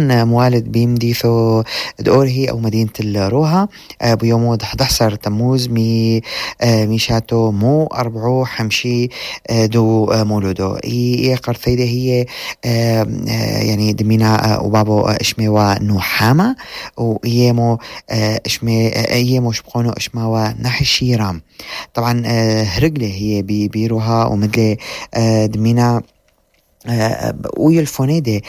موالد بيمديثو دقورهي أو مدينة الروها بيوم 11 تموز ميشاتو مو أربعو حمشي دو مولودو قرثيدة هي يعني دمينا وبابو اشميوا نوحاما ويمو يمو شبقونو اشماوا نحشي رام. طبعا هرقلة هي بيروها ومدلي دمينا ويلفوني دي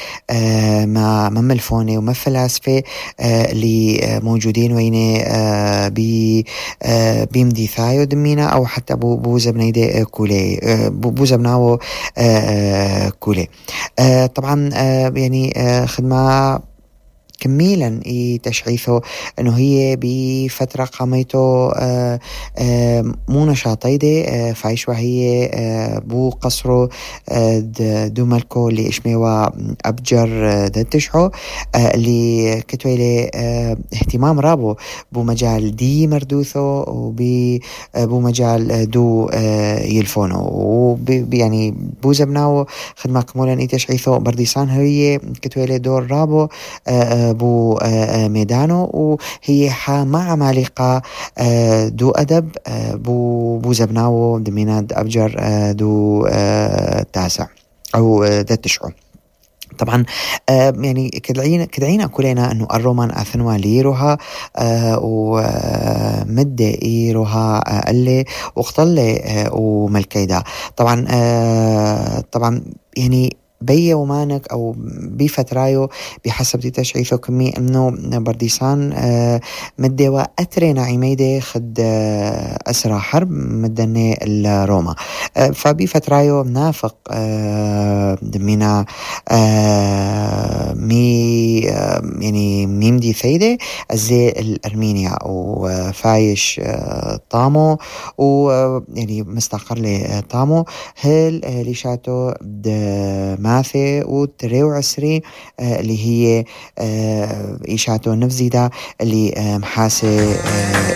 ما ملفوني وما فلاسفة اللي موجودين ويني بيمدي ثايو دمينا أو حتى بوزبني دي كولي بوزبناو كولي. طبعا يعني خدمة كميلا تشعيثه انه هي بفترة قاميته مو نشاطيدة فايش وهي بو قصرو دو ملكو اللي اشميوا ابجر دتشحو اللي كتويلي اهتمام رابو بو مجال دي مردوثو وبو مجال دو يلفونو يعني بو زبناو خدمة كمولا تشعيثه برديسان هي كتويلي دور رابو بو ميدانو وهي مع عمالقة دو أدب بو زبناو دميناد أبجر دو تاسع أو دتشعو. طبعا يعني كدعينا كلنا أنه الرومان أثنوا ليروها ومدة إيروها اللي واختل وملكيدا. طبعا يعني بي ومانك أو بفترايو بحسب تشعيثه كمي أنه برديسان مدوا أترينا عميدة خد أسرى حرب مدني الروما فبفترايو نافق دمينا يعني ميمدي ثيدة زي الأرمينيا وفايش طامو ويعني مستقر لي طامو هل ليشاتو ماثي وتريو عسري اللي هي إيشاتو نفزيدا اللي محاسي